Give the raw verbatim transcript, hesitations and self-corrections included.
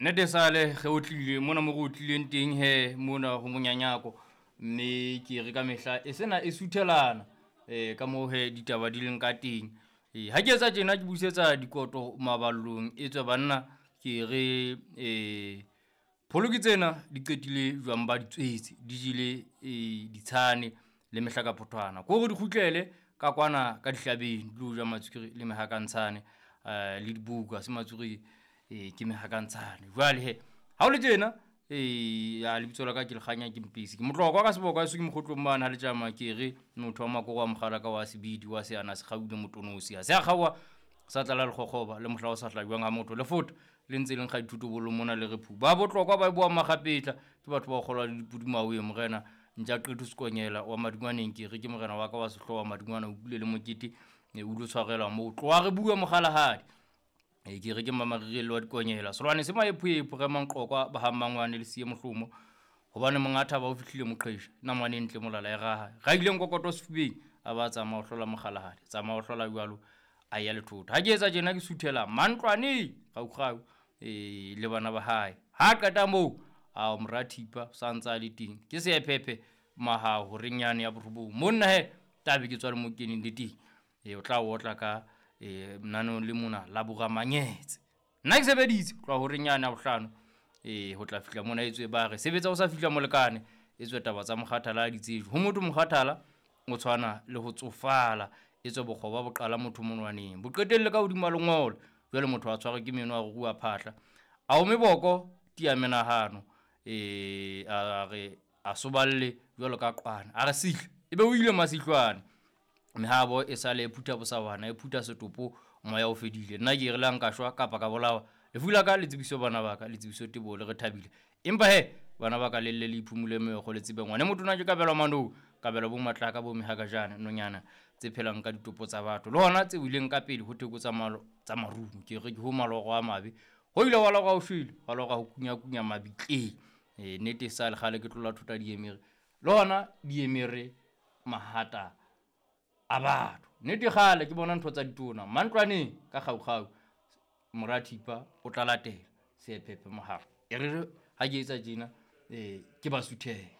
Nnete sale ge o tlile mona mo re o tlileng teng he mona ho monyanyako, mme ke re ka mehla e sena e suthelana um ka moo he ditaba di leng ka teng. E, ha ke etsa tjena ke busetsa dikoto maballong, e tswe banna ke re um pholo ke tsena di qetile jwang ba di tswetse, di jele um ditshane le mehlakaphothwana. Ke hore di kgutlele ka kwana ka dihlabeng di lo ja matswiri le mehakantshane um le diboko ha se matswiri e ke mehakantshane. Jwale he ha o le tjena e ya lebitso la ka ke Lekganya ke Mpisi, ke motlokwa ka seboko haeso ke mokgotlong mane ha letjama ke re motho wa makoro a mokgalaka wa sebidi wa seana se kgaule motonosi ha se a kgaoha sa tlala lekgokgoba le mohla o sa hlajwang ha motho le fota le ntse le nkga dithotobolo mona le re phu. Ba botlokwa ba boang makgapetla ke batho ba kgolwa le dipudi maweng morena ntja qetho Sekonyela wa Madungwaneng ke re ke morena wa ka wa sehlooho wa Madungwana o kule le mokete e o lo tshwarelwa moo. Tloha re bua mokgalahadi e ke re ke mamarirelo wa dikonyela selwane se maephoepho re manqokwa ba ha mmangwane le siye mohlomo hobane monga thaba o fihlile moqhesha namane e ntle molala e raha ra ile nkokoto sefubeng a ba tsamaya ho hlola mokgalahadi tsamaya ho hlola jwalo a ya lethota. Ha ke etsa tjena ke suthela mantlwaneng kgaukgau e le bana ba hae. Ha qeta moo a mora thipa sa ntsa a le teng ke seephephe mahao horeng yane ya borobong monna he tabe ke tswa le mo keneng le teng e o tla otla ka e naneong le mona la boramanyetse. Nna ke sebeditse ho tloha horeng yane ya bohlano e ho tla fihla mona etswe ba re sebetsa o sa fihla molekane etswe taba tsa mokgathala ha di tsejwe. Ho motho mokgathala o tshwana le ho tsofala etswe bokgoba bo qala motho monwaneng bo qetelle ka hodima lengolo. Jwale motho a tshwarwe ke meno a rua phahla a ome boko tia menahano e a re a soballe jwalo ka qwana a re sihla ebe o ile masihlwane. Mehabo e sale e phutha bosawana e phutha setopo moya o fedile. Nna ke re le ha nka shwa kapa ka bolawa lefu la ka le tsebiso bana ba ka le tsebiso teboho le re thabile. Empa he bana ba ka le lle le iphumule meokgo le tsebe ngwane motho na ke kabelwa manong kabelwa bo matlaka bo mehakajana nonyana tse phelang ka ditopo tsa batho le hona tse wileng ka pele ho theko tsa malo tsa marumo. Ke re ke ho maloro a mabe ho ile wa lora o shwele wa lora ho kunyakunya mabitleng. E nnete e sa le kgale ke tlola thota diemere le hona diemere mahata a batho. Nnete kgale ke bona ntho tsa ditona mantlwaneng ka kgaukgau mora thipa o tla latela seephephe moharo. E re ha ke etsa tjena um ke ba suthela.